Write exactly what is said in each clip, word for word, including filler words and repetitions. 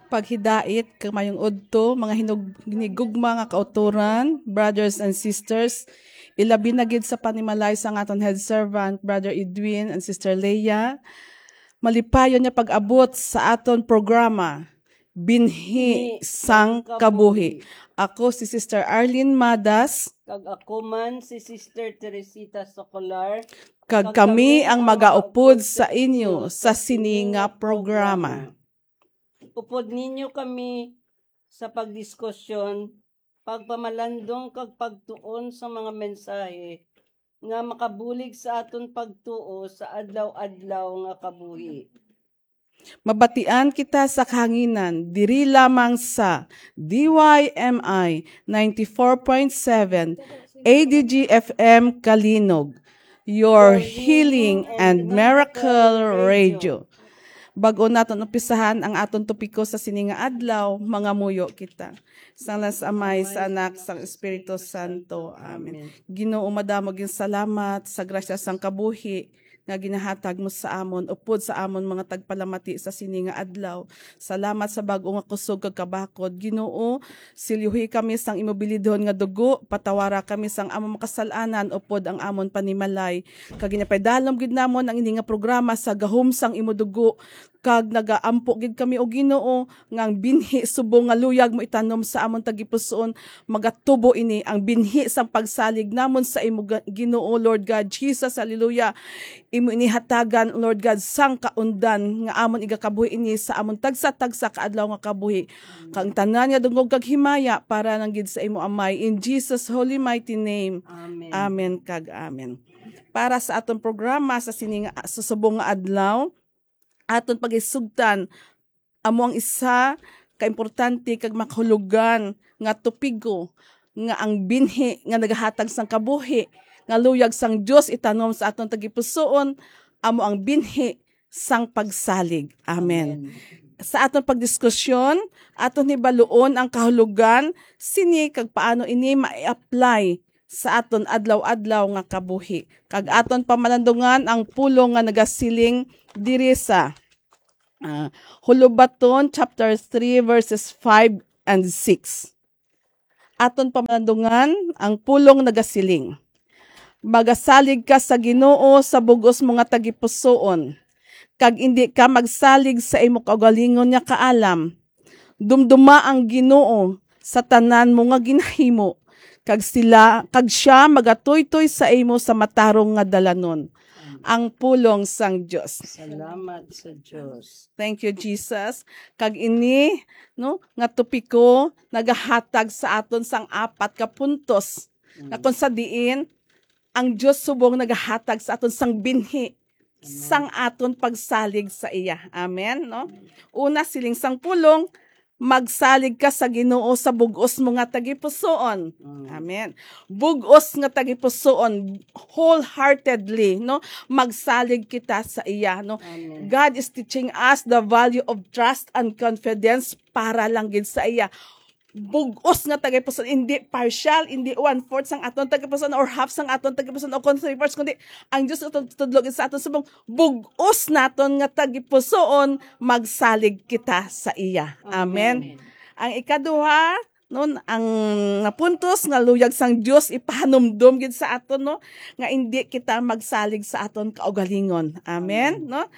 Paghidait kag mayong udto, mga hinug-, hinigugma nga kautoran, brothers and sisters, ilabi na gid sa panimalay sang aton head servant, Brother Edwin and Sister Leia. Malipayon nga pag-abot sa aton programa, Binhi sang Kabuhi. Ako si Sister Arlene Madas. Kag ako man si Sister Teresita Socolar. Kag kami ang magaupod sa inyo sa sini nga programa. Upod ninyo kami sa pagdiskusyon, pagpamalandong kag pagtuon sa mga mensahe nga makabulig sa aton pagtuo sa adlaw-adlaw nga kabuhi. Mabatian kita sa kahanginan diri lamang sa D Y M I ninety-four point seven A D G F M Kalinog, your healing and miracle radio. Bag-o naton umpisahan ang aton topiko sa sini nga adlaw, mangamuyo kita. Sa ngalan sa Amay, sa Anak, sa Espiritu Santo. Amen. Ginoo, madamo gid salamat sa grasya sang kabuhi nga ginahatag mo sa amon, upod sa amon mga tagpalamati sa sini nga adlaw. Salamat sa bag-o nga kusog kag kabakod. Ginoo, silyuhi kami sang imo bilidhon nga dugo, patawara kami sang amon makasal-anan, upod ang amon panimalay. Kag ginapaidalom gid namon ang ini nga programa sa gahom sang imo dugo, kag nagaampo gid kami, O Ginoo, nga ang binhi subong nga luyag mo itanom sa amon tagipusoon, magatubo ini ang binhi sang pagsalig namon sa imo, Ga-, Ginoo, Lord God Jesus, hallelujah. Imo ini hatagan, Lord God, sang kaundan nga amon igakabuhi ini sa amon tagsa-tagsa ka adlaw nga kabuhi. Kag ang tanan nga dungog kag himaya para lang gid sa imo, Amay, in Jesus' holy mighty name. Amen. Amen kag amen. Para sa aton programa sa sini nga, sa subong nga adlaw, aton pagisugtan, amo ang isa ka importante kag makahulugan nga topigo, nga ang binhi nga nagahatag sang kabuhi nga luyag sang Dios itanom sa aton tagipusoon, amo ang binhi sang pagsalig. Amen. Amen. Sa aton pagdiskusyon, aton hibaluon ang kahulugan sini kag paano ini ma-apply sa aton adlaw-adlaw nga kabuhi. Kag aton pamalandungan ang pulong nga nagasiling diri sa, ah, Hulubaton chapter three, verses five and six. Aton pamalandungan ang pulong nagasiling, "Magasalig ka sa Ginoo sa bug-os mo nga tagipusoon, kag indi ka magsalig sa imo kaugalingon nga kaalam. Dumduma ang Ginoo sa tanan mo nga ginahimo, kag sila, kag sia magatuytoy sa imo sa matarong nga dalanon." Ang pulong sang Dios. Salamat sa Dios. Thank you, Jesus. Kag ini, no, nga topiko nagahatag sa aton sang apat ka puntos, nga kung sa diin ang Dios subong nagahatag sa aton sang binhi sang aton pagsalig sa iya. Amen, no? Una, siling sang pulong, "Magsalig ka sa Ginoo sa bug-os mo nga tagipusoon." Mm. Amen. Bug-os nga tagipusoon, wholeheartedly, no? Magsalig kita sa iya, no? Amen. God is teaching us the value of trust and confidence para lang gid sa iya. Bug-os nga tagipusoon, hindi partial, hindi one-fourth sang aton tagipusoon or half sang aton tagipusoon o kung three-fourths, kundi ang Dios tud-, tudlo gid sa aton subong, bug-os naton nga tagipusoon, magsalig kita sa iya. Amen. Amen. Ang ikaduha, no, ang napuntos nga luyag sang Dios ipahanumdom gid sa aton, no, nga indi kita magsalig sa aton kaugalingon. Amen, amen, no?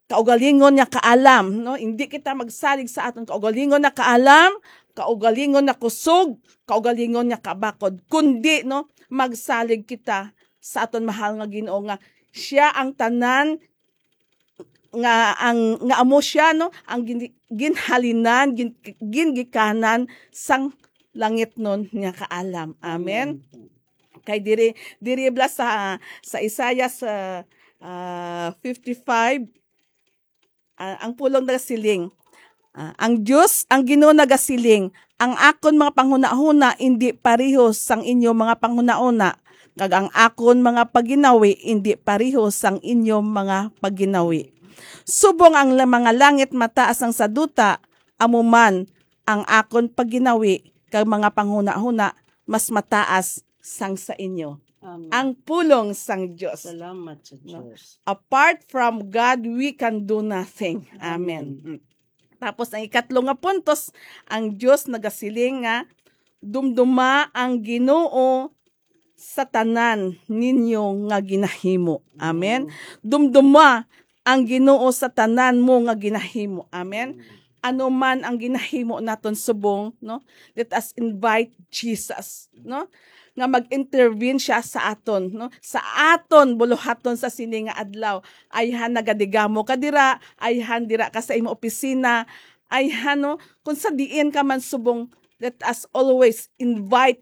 Kaugalingon nga kaalam, no? Hindi kita magsalig sa aton kaugalingon nga kaalam, kaugalingon nga kusog, kaugalingon nga kabakod, kundi, no, magsalig kita sa aton mahal nga Ginoo, nga siya ang tanan, nga ang, nga amo siya, no, ang gin-, ginhalinan, gin-, gingikanan sang langitnon nga kaalam. Amen. Amen. Kay diri, diri bala sa, sa Isaiah sa, ah, fifty-five, ah, ang pulong nagasiling, ah, ang Dios, ang Ginoo nagasiling, "Ang akon mga panghunahuna indi pareho sang inyo mga panghunahuna, kag ang akon mga paginawi indi pareho sang inyo mga paginawi. Subong ang la-, mga langit mataas ang sa duta, amo man ang akon paginawi kag mga panghunahuna mas mataas sang sa inyo." Amen. Ang pulong sang Dios. Salamat sa, no? Dios. Apart from God, we can do nothing. Amen. Amen. Mm. Tapos ang ikatlo nga puntos, ang Dios nagasiling nga, "Dumduma ang Ginoo sa tanan ninyo nga ginahimo." Amen. Wow. "Dumduma ang Ginoo sa tanan mo nga ginahimo." Amen. Amen. Ano man ang ginahimo naton subong, no? Let us invite Jesus, no? Nga mag-intervene siya sa aton, no? Sa aton buluhaton sa sini nga adlaw. Ayhan nagadigamo ka dira, ayhan dira ka sa imo opisina, ayhan, no? Kung sa diin ka man subong, let us always invite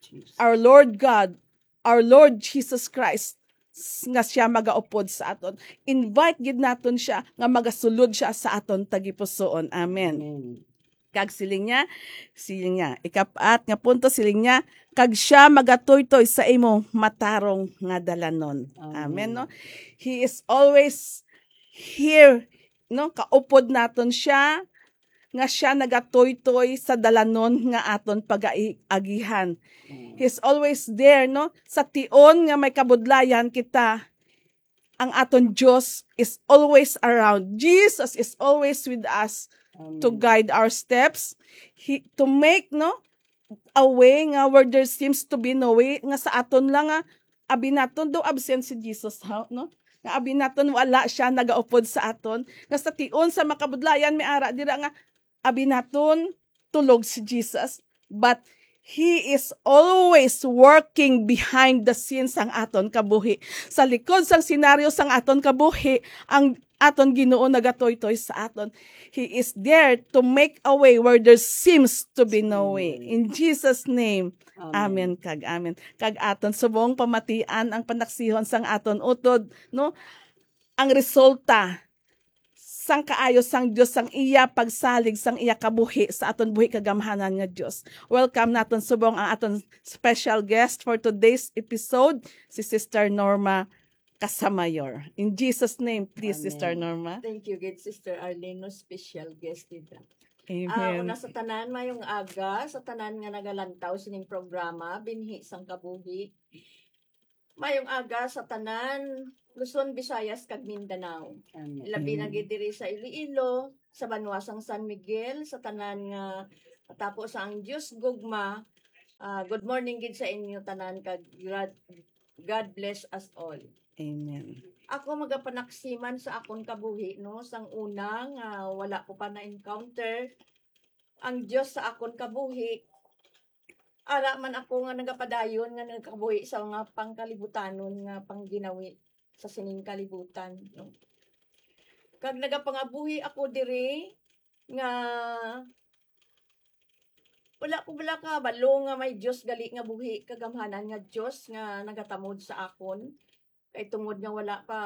Jesus, our Lord God, our Lord Jesus Christ, s-, nga siya magaupod sa aton. Invite gid naton siya nga magasulod siya sa aton tagipusoon. Amen. Amen. Kag siling niya, siling niya, ikapat nga punto, siling niya, "Kag siya magatuytoy sa imo matarong nga dalanon." Amen. Amen, no? He is always here, no? Kaupod naton siya, nga siya nagatuytoy sa dalanon nga aton pagaagihan. Mm. He's always there, no? Sa tion nga may kabudlayan kita, ang aton Dios is always around. Jesus is always with us to, amen, guide our steps. He, to make, no, a way nga where there seems to be no way, nga sa aton lang nga, abi naton daw absent si Jesus, ha, no? Nga abi naton wala siya nagaupod sa aton. Nga sa tion sa makabudlayan may ara dira nga abi naton tulog si Jesus, but He is always working behind the scenes sang aton kabuhi. Sa likod sang senaryo sang aton kabuhi, ang aton Ginoo nagatuytoy sa aton. He is there to make a way where there seems to be no way. In Jesus' name, amen, amen kag amen. Kag aton subong pamatian ang panaksihon sang aton utod, no? Ang resulta sang kaayo sang Dios, sang iya pagsalig, sang iya kabuhi sa aton buhi, kagamhanan nga Dios. Welcome naton subong ang aton special guest for today's episode, si Sister Norma Casamayor. In Jesus' name, please, Sister, amen, Norma. Thank you, good Sister Arlene, no special guest dito. Amen. Ah, una sa tanan, mayong aga sa tanan nga nagalantaw sining programa, Binhi sang Kabuhi. Mayong aga sa tanan, Luzon, Visayas, kag Mindanao. Amen. Labi na, amen, gid diri sa Iloilo, sa banwa sang San Miguel, sa tanan nga tapo sa ang Dios gugma. Ah, good morning gid sa inyo tanan, kag gra-, God bless us all. Amen. Ako magapanaksiman sa akon kabuhi, no, sang una nga wala ko pa na-encounter ang Dios sa akon kabuhi. Ara man ako nga nagapadayon nga nagakabuhi sa mga pangkalibutanon nga pangginawi sa sining kalibutan, no? Kag nagapangabuhi ako diri nga wala ko bala kabalo nga may Dios gali nga buhi, kagamhanan nga Dios nga nagatamod sa akon. Kay tungod nga wala pa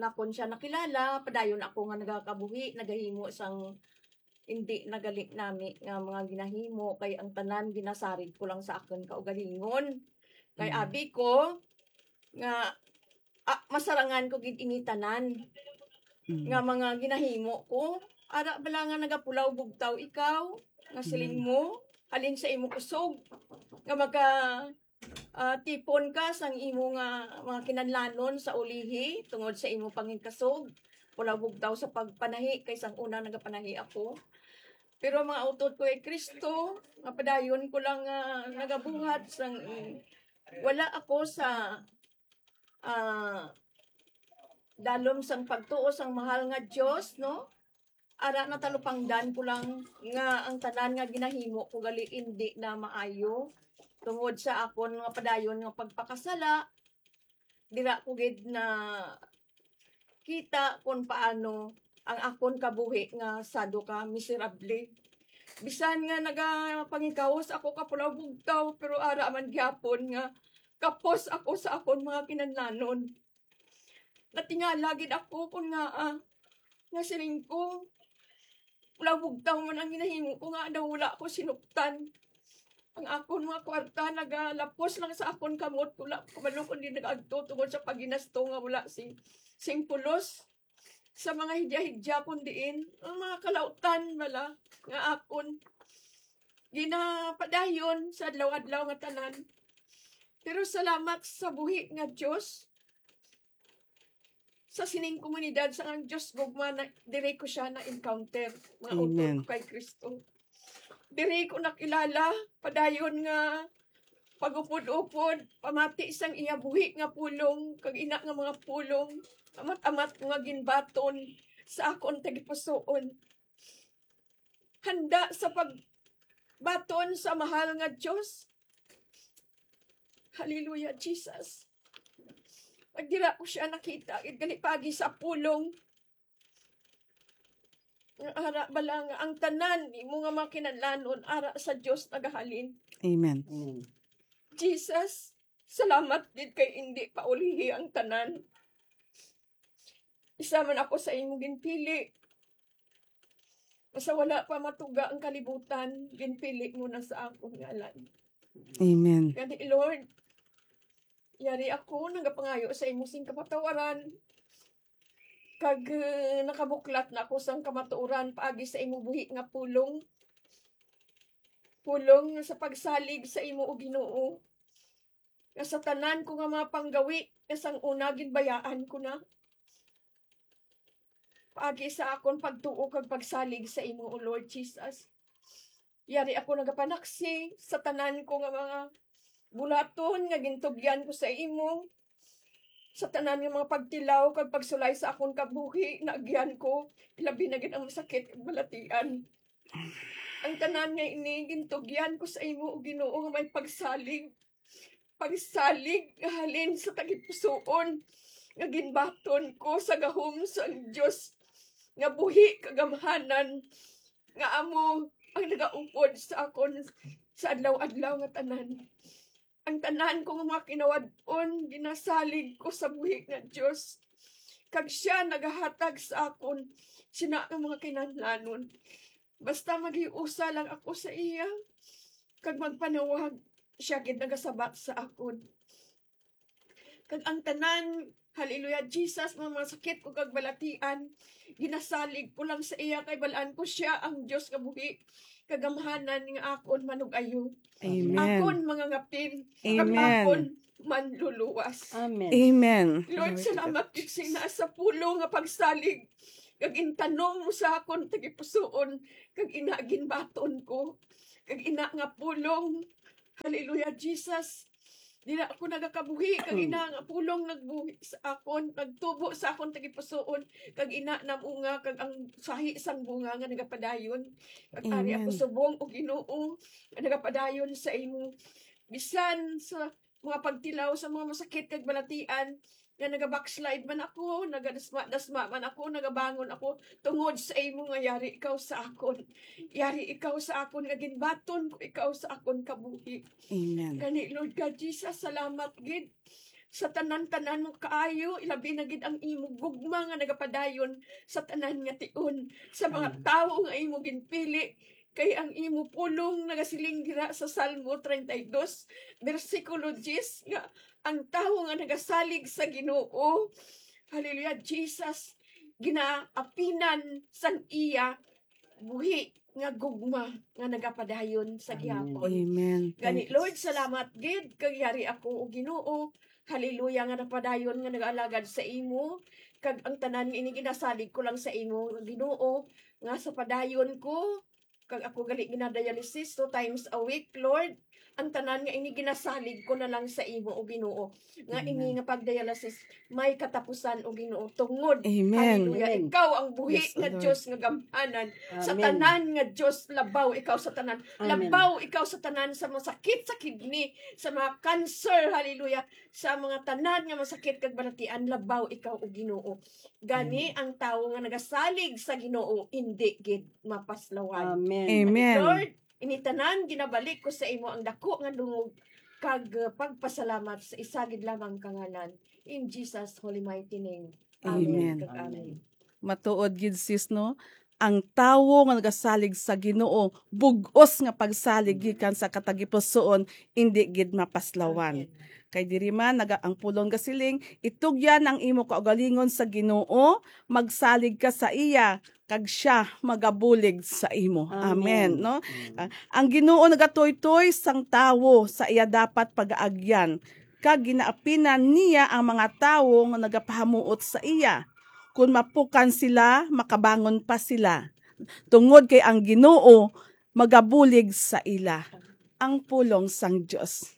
nakon siya nakilala, padayon ako nga nagakabuhi, nagahimo sang indi na gali nami nga mga ginahimo, kay ang tanan ginasarig ko lang sa akon kaugalingon. Kay, mm, abi ko nga, ah, masarangan ko gid ini tanan, mm, nga mga ginahimo ko. Ara bala nga nagapulaw bugtaw ikaw, nga siling, mm, mo, halin sa imo kusog, nga maka ah, tipon ka sang imo nga mga kinahanglanon sa ulihi tungod sa imo pangigkasog. Wala bugtaw sa pagpanahi kay sang una nagapanahi ako. Pero ang mga utod ko kay Kristo, nga padayon ko lang nga nagabuhat sang, mm, wala ako sa, ah, dalom sang pagtuo sang mahal nga Dios, no? Ara, natalupangdan ko lang nga ang tanan nga ginahimo ko gali indi na maayo tungod sa akon nga padayon nga pagpakasala. Dira ko gid na kita kon paano ang akon kabuhi nga sado ka miserable. Bisan nga nagapangikawos ako kapulaw bugtaw, pero ara man gyapon nga kapos ako sa akon mga kinahanglanon. Natingala gid ako kon ngaa, ah, nga siling ko, wala bugtaw man ang ginahimo ko, nga daw wala ko sinuptan. Ang akon mga kwarta nagalapos lang sa akon kamot, wala ko kabalo kon di nagaagto tungod sa pagginasto nga wala sing, sing pulos sa mga hidya-hidya, kun diin ang mga kalautan bala nga akon ginapadayon sa adlaw-adlaw nga tanan. Pero salamat sa buhi nga Dios, sa sining komunidad sang ang Dios gugma na diri ko siya na-encounter, mga utod Amen. ko kay Kristo. Diri ko nakilala padayon nga pag-upod-upod, pamati sang iya buhi nga pulong, kag ina nga mga pulong, amat-amat ko nga ginbaton sa akon tagipusoon. Handa sa pagbaton sa mahal nga Dios. Hallelujah, Jesus. Pag dira ko siya nakita, gid gali pagi sa pulong. Nga ara bala nga ang tanan nimo nga mga kinahanglanon ara sa Dios nagahalin. Amen. Jesus, salamat gid kay indi pa ulihi ang tanan. Isa man ako sa imo ginpili. Sa wala pa matuga ang kalibutan, ginpili mo na sa akon ngalan. Amen. Gani, Lord, yari ako nagapangayo sa imo sing kapatawaran. Kag, eh, nakabuklat na ako sang kamatuoran paagi sa imo buhi nga pulong. Pulong sa pagsalig sa imo, O Ginoo. Nga sa tanan ko nga mga panggawi, nga sang una ginbayaan ko na. Paagi sa akon pagtuo kag pagsalig sa imo, O Lord Jesus. Yari ako nagapanaksi sa tanan ko nga mga bulaton nga gintugyan ko sa imo, sa tanan nga mga pagtilaw kag pagsulay sa akon kabuhi, naagyan ko, ilabi na gid ang masakit kag balatian. Ang tanan nga ini gintugyan ko sa imo, O Ginoo, nga may pagsalig, pagsalig nga halin sa tagipusoon, nga ginbaton ko sa gahom sang Dios nga buhi kagamhanan, nga amo ang nagaupod sa akon sa adlaw-adlaw nga tanan. Ang tanan ko nga mga kinawad-on, ginasalig ko sa buhi nga Dios, kag siya nagahatag sa akon sina nga mga kinahanglanon. Basta maghiusa lang ako sa iya, kag magpanawag, siya gid nagasabat sa akon. Kag ang tanan, hallelujah, Jesus, mga, mga sakit ko kag balatian, ginasalig ko lang sa iya, kay balaan ko siya ang Dios nga buhi, kagamhanan nga akon manug-ayo, Amen. akon mangangapin, kag Amen. akon manluluwas. Amen. Amen. Lord, Glory to salamat God. gid sa ina sa pulong nga pagsalig kag intanom mo sa akon tagipusoon, kag ina ginbaton ko, kag ina nga pulong. Hallelujah, Jesus. Dira ako nagakabuhi, kag Mm. ina nga pulong nagbuhi sa akon, nagtubo sa akon tagipusoon, kag ina namunga, kag ang sahi sang bunga nga nagapadayon. Kag ari ako Amen. subong, O Ginoo, nga nagapadayon sa imo. Bisan sa mga pagtilaw sa mga masakit kag balatian, nga naga-backslide man ako, nagadasma-dasma man ako, nagabangon ako, tungod sa imo nga yari ikaw sa akon. Yari ikaw sa akon, nga ginbaton ko ikaw sa akon kabuhi. Amen. Gani, Lord God Jesus, salamat gid sa tanan-tanan mo kaayo, ilabi na gid ang imo gugma nga nagapadayon sa tanan nga tion, sa mga Amen. tawo nga imo ginpili, kay ang imo pulong nagasiling dira sa Salmo treinta y dos, bersikulo diyes, nga ang tawo nga nagasalig sa Ginoo, hallelujah, Jesus, ginaapinan sang iya buhi nga gugma nga nagapadayon sa Amen. gihapon. Amen. Gani, Thank you, Lord, Jesus. salamat gid, kag yari ako, O Ginoo, hallelujah, nga napadayon nga nagaalagad sa imo, kag ang tanan nga ini ginasalig ko lang sa imo, Ginoo, nga sa padayon ko, kag ako gali ginadialysis two times a week, Lord. Ang tanan nga ini ginasalig ko na lang sa imo, O Ginoo, nga ini Amen. nga pagdialysis may katapusan, O Ginoo, tungod, Amen. hallelujah, Amen. ikaw ang buhi Yes, nga Lord. Diyos nga gamhanan. Sa Amen. tanan nga Diyos, labaw ikaw sa tanan. Amen. Labaw ikaw sa tanan, sa mga sakit sa kidney, sa mga cancer, hallelujah, sa mga tanan nga masakit kag balatian, labaw ikaw, O Ginoo. Gani, Amen. ang tawo nga nagasalig sa Ginoo, indi gid mapaslawan. Amen. Amen. Lord, ini tanan ginabalik ko sa imo ang dako nga dungog kag, uh, pagpasalamat sa isa gid lamang ka ngalan. In Jesus' holy mighty name. Amen Amen. kag amen. Amen. Matuod gid, sis, no? Ang tawo nga nagasalig sa Ginoo, bug-os nga pagsalig gikan sa katagipusoon, indi gid mapaslawan. Amen. Kay diri man naga-, ang pulong gasiling, "Itugyan ang imo kaugalingon sa Ginoo, magsalig ka sa iya, kag siya magabulig sa imo." Amen. Amen, no? Amen. Ah, ang Ginoo nagatuytoy sang tawo sa iya dapat pagaagyan. kag ginaapinan niya ang mga tawo nga nagapahamuot sa iya. Kon mapukan sila, makabangon pa sila, tungod kay ang Ginoo magabulig sa ila. Ang pulong sang Dios.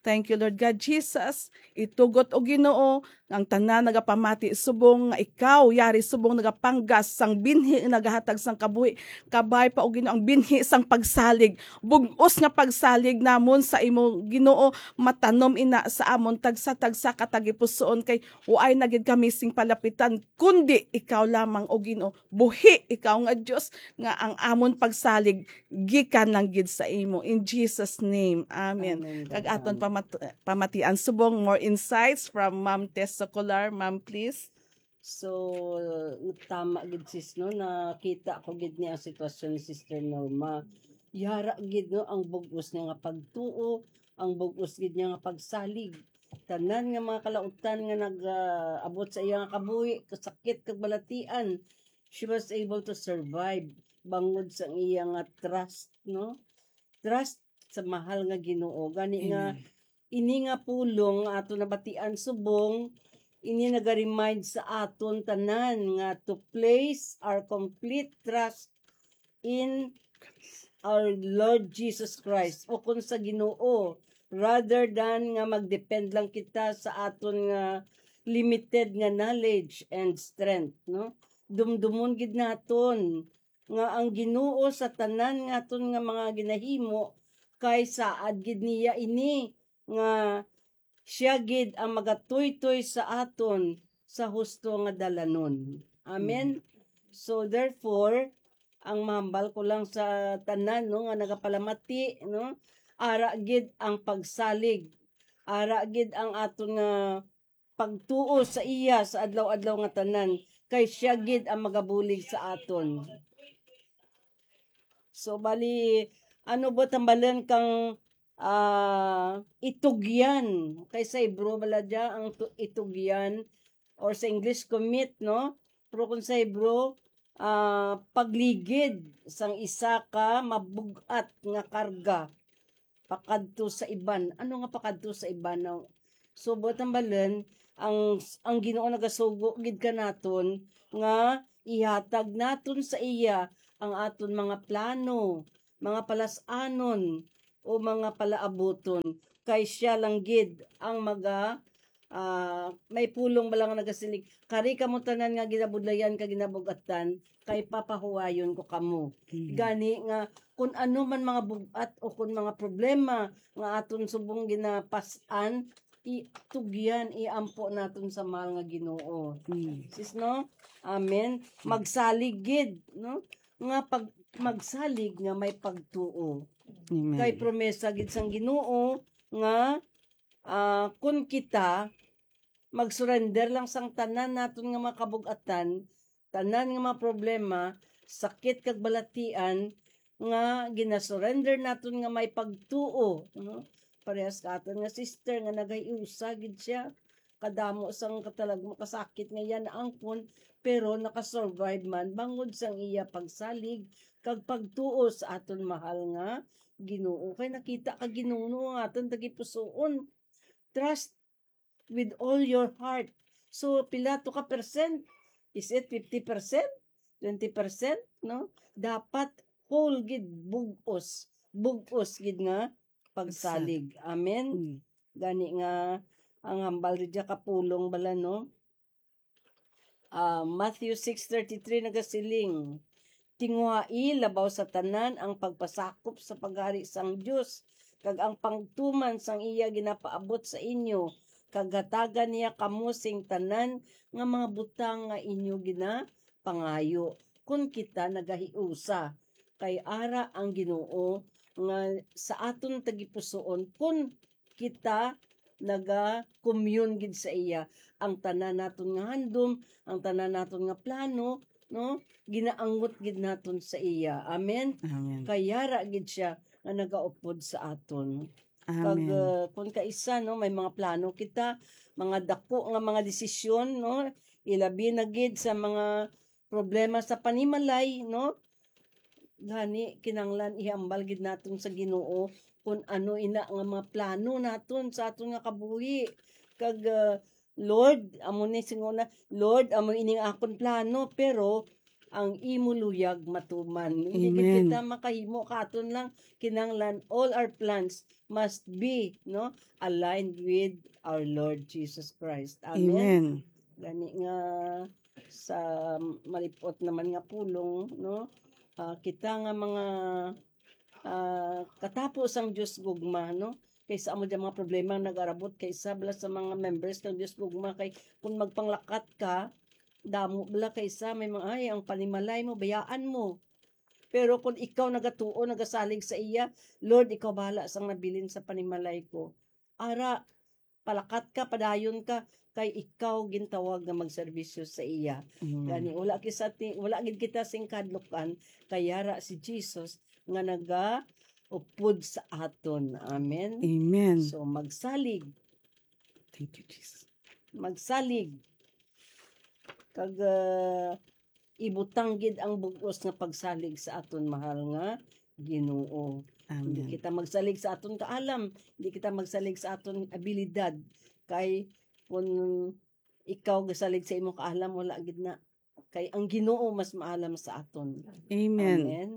Thank you, Lord God Jesus. Itugot, O Ginoo, nga ang tanan nagapamati subong nga ikaw yari, subong nagapanggas sang binhi nga nagahatag sang kabuhi. Kabay pa, O Ginoo, ang binhi sang pagsalig. Bug-os nga pagsalig namon sa imo, Ginoo, matanom ina sa amon tagsa-tagsa ka tagipusoon, kay waay na gid kami sing palapitan, kundi ikaw lamang, O Ginoo. Buhi ikaw nga Dios, nga ang amon pagsalig gikan lang gid sa imo. In Jesus' name, amen. Amen. Kag aton pamat-, pamatian subong more insights from Ma'am Tess Socolar. Ma'am, please. So, tama gid, sis, no? Nakita ko gid ni ang sitwasyon ni Sister Norma. Yara gid, no, ang bug-os niya nga pagtuo, ang bug-os gid niya nga pagsalig. Tanan nga mga kalautan nga nag-, ah, abot sa iya nga kabuhi, kasakit kag balatian, she was able to survive bangod sa iya nga trust, no? Trust sa mahal nga Ginoo. Gani nga, amen, ini nga pulong nga ato nabatian subong, ini naga-remind sa aton tanan nga to place our complete trust in our Lord Jesus Christ, o kung sa Ginoo, rather than nga mag-depend lang kita sa aton nga limited nga knowledge and strength, no? Dumdumon gid naton nga ang Ginoo sa tanan nga aton nga mga ginahimo, kay saad gid niya ini, nga siya gid ang magatuytoy sa aton sa husto nga dalanon. Amen. Mm. So therefore, ang mahambal ko lang sa tanan, no, nga nagapalamati, no, ara gid ang pagsalig, ara gid ang aton nga pagtuo sa iya sa adlaw-adlaw nga tanan, kay siya gid ang magabulig sa aton. So, bali, ano ba tambalan kang, ah, itugyan? Kay sa Hebro bala dya ang tu-, itugyan, or sa English, commit, no? Pero kung sa Hebro, ah, pagligid sang isa ka mabug-at nga karga pakadto sa iban. Ano nga pakadto sa iban? Now, so, buot hambalon, ang, ang Ginoo nagasugo gid kanaton nga ihatag naton sa iya ang aton mga plano, mga palas-anon, o mga palaabuton, kay siya lang gid ang maga-, ah, may pulong bala nga nagasiling, "Kari kamo tanan nga ginabudlayan kag ginabug-atan, kay papahuwayon ko kamo." Mm. Gani nga, kun ano man mga bug-at o kun mga problema nga aton subong ginapas-an, itugyan, iampo naton sa mahal nga Ginoo. Mm. Sis, no? Amen. Mm. Magsalig gid, no? Nga pag-, magsalig nga may pagtuo. Amen. Kay promesa gid sang Ginoo nga, ah, kun kita mag-surrender lang sang tanan naton nga mga kabug-atan, tanan nga mga problema, sakit kag balatian nga ginasurrender naton nga may pagtuo, no? Parehas ka aton nga sister nga nagahiusa gid siya. Kadamo sang katalag-, makasakit nga iya naangkon, pero nakasurvive man bangod sang iya pagsalig kag pagtuo sa aton mahal nga Ginoo. Kay nakita ka Ginoo ang aton tagipusoon. Trust with all your heart. So, pila to ka percent? Is it fifty percent? Twenty percent? No? Dapat whole gid, bug-os. Bug-os gid nga pagsalig. Pagsalig. Amen? Mm. Gani nga, ang hambal ri dya kapulong bala, no? Ah, Matthew six thirty-three nagasiling, "Tinguhai labaw sa tanan ang pagpasakop sa paghari sang Dios, kag ang pagtuman sang iya ginapaabot sa inyo, kag hatagan niya kamo sing tanan nga mga butang nga inyo ginapangayo." Kun kita nagahiusa, kay ara ang Ginoo nga sa aton tagipusoon, kun kita naga-commune gid sa iya. Ang tanan naton nga handom, ang tanan naton nga plano, no? Ginaangot gid naton sa iya. Amen? Amen. Kay yara gid siya nga nagaupod sa aton. Kag, amen, uh, kung kaisa, no, may mga plano kita, mga dako nga mga desisyon, no? Ilabi na gid sa mga problema sa panimalay, no? Gani, kinahanglan ihambal gid naton sa Ginoo kung ano ina nga mga plano naton sa aton nga kabuhi. Kag, ah, Lord, amo ni singona, "Lord, amo ini nga akon plano, pero ang imo luyag matuman." Hindi gid Amen. kita makahimo ka aton lang, kinahanglan all our plans must be, no, aligned with our Lord Jesus Christ. Amen. Amen. Gani nga sa malipot naman nga pulong, no, ah, kita nga mga, ah, katapo sang Dios gugma, no? Kaysa amo dyan mga problema ang nag-arabot kay isa bala sa mga members ng Dios gugma, kay kung magpanglakat ka, damo bala kaysa may mga, "Ay, ang panimalay mo, bayaan mo." Pero kung ikaw nagatuo, nagasalig sa iya, "Lord, ikaw bahala sang nabilin sa panimalay ko." Ara, palakat ka, padayon ka, kay ikaw gintawag nga magserbisyo sa iya. Mm. Gani, wala kisa ti-, wala gid kita sing kahadlukan, kay yara si Jesus nga nagaupod sa aton. Amen? Amen. So, magsalig. Thank you, Jesus. Magsalig. Kag, ah, ibutang gid ang bug-os nga pagsalig sa aton mahal nga Ginoo. Hindi Amen. kita magsalig sa aton kaalam, hindi kita magsalig sa aton abilidad. Kay kung ikaw gasalig sa imong kaalam, wala gid na. Kay ang Ginoo mas maalam sa aton. Amen. Amen.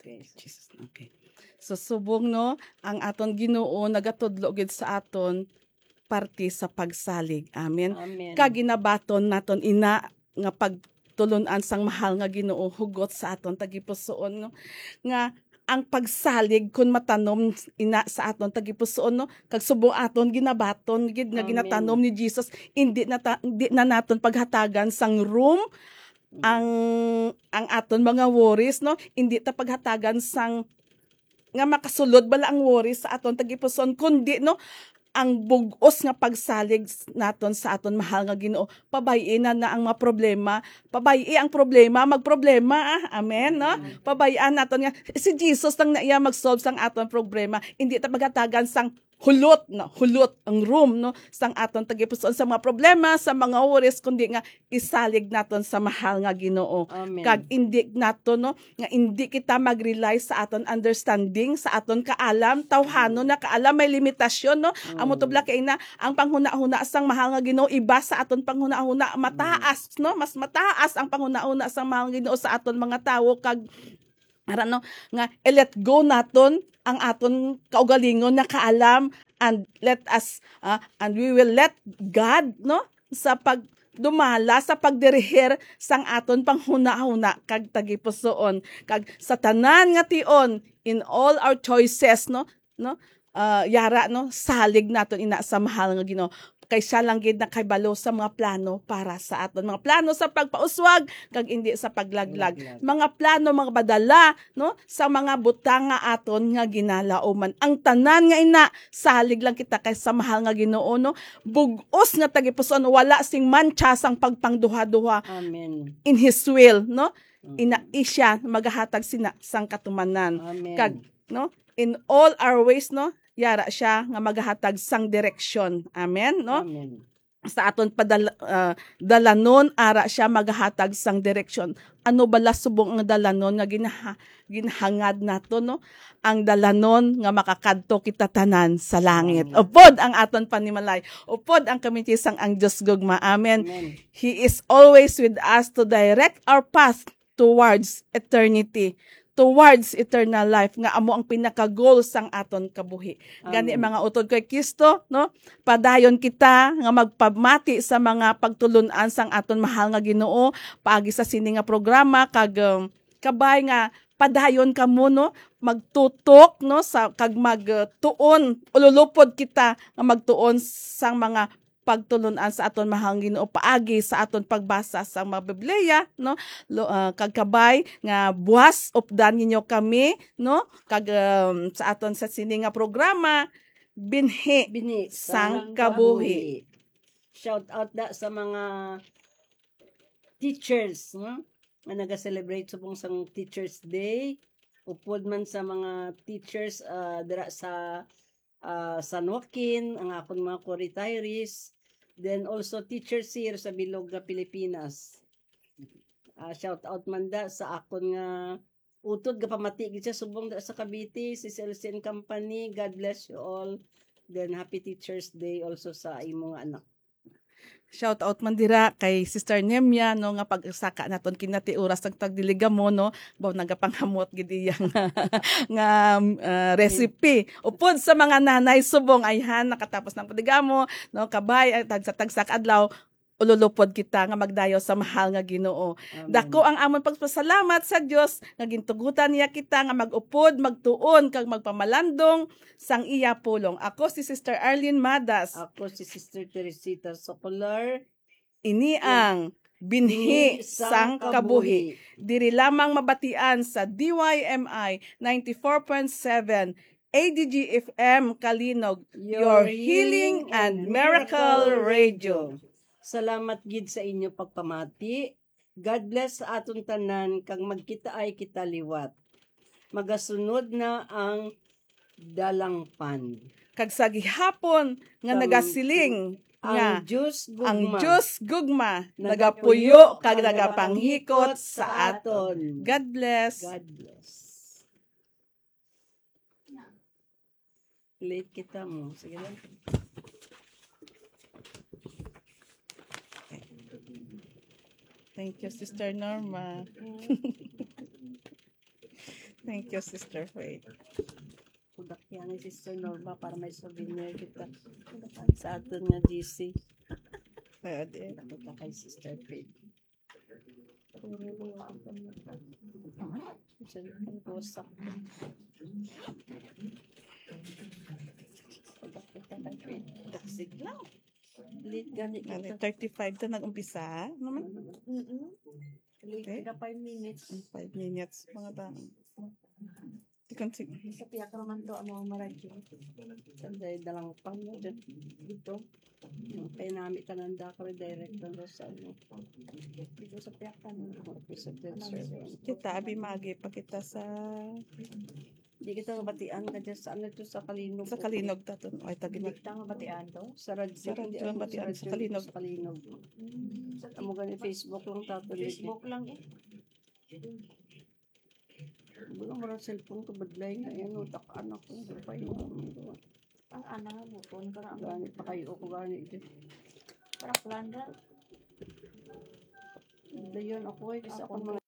Okay. Jesus. Okay. So, subong, no, ang aton Ginoo nagatudlo gid sa aton parte sa pagsalig. Amen. Amen. Kag ginabaton naton ina nga pagtulon-an sang mahal nga Ginoo hugot sa aton tagipusoon, no, nga ang pagsalig kun matanom ina sa aton tagipusoon, no, kag subong aton ginabaton gid nga Amen. ginatanom ni Jesus, indi na ta-, indi na naton paghatagan sang room Mm. ang, ang aton mga worries, no, indi ta paghatagan sang nga makasulod bala ang worry sa aton tagipusoon, kundi, no, ang bug-os nga pagsalig s-, naton sa aton mahal nga Ginoo. Pabay-i na, na ang mga problema. Pabay-i ang problema, magproblema, ah. Amen, no? Amen. Pabay-an naton nga si Jesus lang na iya mag-solve sang aton problema. Hindi ta paghatagan sang hulot, no? Hulot ang room, no, sang aton tagipusoon sa mga problema, sa mga worries, kundi nga isalig naton sa mahal nga Ginoo. Amen. Kag indi nato, no, nga indi kita mag-rely sa aton understanding, sa aton kaalam, tawhanon Mm. na kaalam, may limitasyon, no? Amo to Mm. bala kay na ang panghunahuna sang mahal nga Ginoo iba sa aton panghunahuna, mataas, Mm. no? Mas mataas ang panghunahuna sang mahal nga Ginoo sa aton mga tawo, kag ara, no, nga i-let go naton ang aton kaugalingon nga kaalam, and let us, ah, and we will let God, no, sa pagdumala, sa pagdirihir sang aton panghunahuna kag tagipusoon, kag sa tanan nga tion, in all our choices, no, no, ah, yara, no, salig naton ina sa mahal nga Ginoo, kay siya lang gid nakahibalo sa mga plano para sa aton, mga plano sa pagpauswag kag indi sa paglaglag, Laglag. mga plano, mga padala, no, sa mga butang nga aton nga ginalauman. Ang tanan nga ina, salig lang kita kay sa mahal nga Ginoo, no? Bug-os nga tagipusoon, wala sing mantsa sang pagpangduha-duha Amen. in His will, no? Mm. Ina, siya magahatag sina sang katumanan. Amen. Kag, no, in all our ways, no, yara siya nga magahatag sang direksyon. Amen, no? Amen. Sa aton padal-, ah, dalanon, ara siya magahatag sang direksyon. Ano bala subong ang dalanon nga ginaha-, ginahangad nato, no? Ang dalanon nga makakadto kita tanan sa langit. Langit. Upod ang aton panimalay. Upod ang kamitisang ang Dios gugma. Amen. Amen. He is always with us to direct our path towards eternity, towards eternal life, nga amo ang pinaka-goal sang aton kabuhi. Gani, Amen. mga utod kay Kristo, no? Padayon kita nga magpamati sa mga pagtulon-an sang aton mahal nga Ginoo paagi sa sini nga programa, kag, um, kabay nga padayon kamo, no? Magtutok, no, sa, kag mag, uh, tuon, ululupod kita nga magtuon sang mga pagtulon-an sa aton mahal nga Ginoo paagi sa aton pagbasa sa mga Biblia, no? Lo-, ah, kag kabay nga buwas updan ninyo kami, no? Kag, um, sa aton sa sini nga programa, Binhi Binhi sang sang Kabuhi. Kabuhi. Shout out da sa mga teachers, no? Nga naga-celebrate subong sang Teachers Day. Upod man sa mga teachers, ah, dira sa ah, San Joaquin, ang akon mga co-retirees, then also teachers here sa bilog nga Pilipinas. Ah, shout out man da sa akon nga utod, gapamati gid siya subong dira sa Cavite, si C L C and company. God bless you all. Then, happy Teacher's Day also sa imo nga anak. Shout out man dira kay Sister Nemia, no, nga pagsaka naton kinati oras nagtagdiligamo, no, baw nagapanghamot gid iya nga, nga, ah, recipe. Upod sa mga nanay subong, ayhan, nakatapos ng padigamo, no, kabay, ay, tagsa-tagsa ka adlaw, ululupod kita nga magdayaw sa mahal nga Ginoo. Amen. Dako ang amon pagpasalamat sa Dios nga gintugutan niya kita nga mag-upod, magtuon, kag magpamalandong sang iya pulong. Ako si Sister Arlene Madas. Ako si Sister Teresita Socolar. Ini ang Binhi Binhi sang sang Kabuhi. Kabuhi. Diri lamang mabatian sa D Y M I ninety-four point seven A D G F M Calinog, your healing and miracle radio. Salamat gid sa inyo pagpamati. God bless sa aton tanan, kag magkitaay kita liwat. Magasunod na ang dalangpan. Kag sa gihapon nga Kag nagasiling ang nga Diyos ang gugma Diyos gugma nagapuyo nagapuyo kag kag nagapanghikot nagapanghikot sa sa aton. Aton. God bless. God bless. Late kita mo. Sige lang. Thank you, Sister Norma. Thank you, Sister Faith. Kudak yan ni Sister Norma para may souvenir kita sa aton nga G C. Pwede. Nakita kay Sister Faith. Cellphone ko sa Dasig lang. Late gani Ano, kita. Thirty-five ta nag-umpisa naman. Mm-mm. Late Okay. kita, five minutes. Ang five minutes, mga tao. Tikon, sige. Sa piyak naman to, ang mga maradyo. Sanday dalang pan mo dyan. Dito. Kaya nami ka nanda ko, direct na sa ano. Dito sa piyak ka na. Office of the service. Kita, abi, magi pa kita sa Di kita mabatian ka dyan sa ano to, sa Kalinog. Sa Kalinog ta to. Ay, tagi Di na. kita mabatian to. Sa radyo, Sa radyo hindi, ang ano, batian sa sa radyo, Kalinog. Sa Kalinog. Mm, sa Amo gani, Facebook lang tato, Facebook lang eh. Wala mo rin cellphone ko, badlay na yan, utak anak ko, hindi pa yun. Ang anak mo, phone ka na. Gani pa kayo ako, gani. Para plan na. Dayon ako, eh, kasi ako Ako, mga